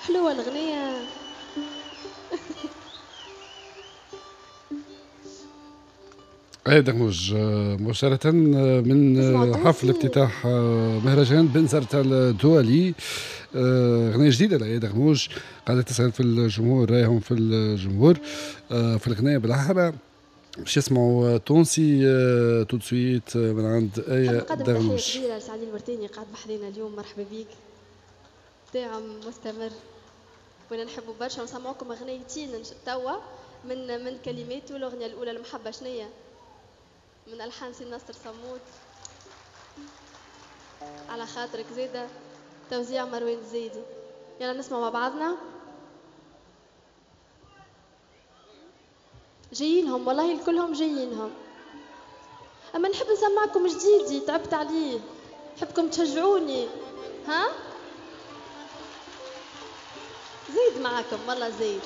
حلوة الأغنية. آية دغموج مباشرة من حفل افتتاح مهرجان بنزرت الدولي. أغنية جديدة لآية دغموج قاعدة تسأل في الجمهور، رأيهم في الجمهور في الأغنية بالأحرى. باش يسمعوا تونسي tout de suite من عند آية دغموج. تحية كبيرة لسعدي الورتاني قاعد بحذينا اليوم، مرحبا بيك، داعم مستمر وانا نحبوا برشا. ونسمعوكم اغنيتين توا من كلماته. الاغنية الاولى المحبة شنية من الحان سي ناصر صمود، على خاطرك زيده، توزيع مروان الزايدي. يلا نسمع مع بعضنا. جايينهم والله كلهم جايينهم، اما نحب نسمعكم جديدي، تعبت عليه، نحبكم تشجعوني. ها زيد معاكم والله زيد.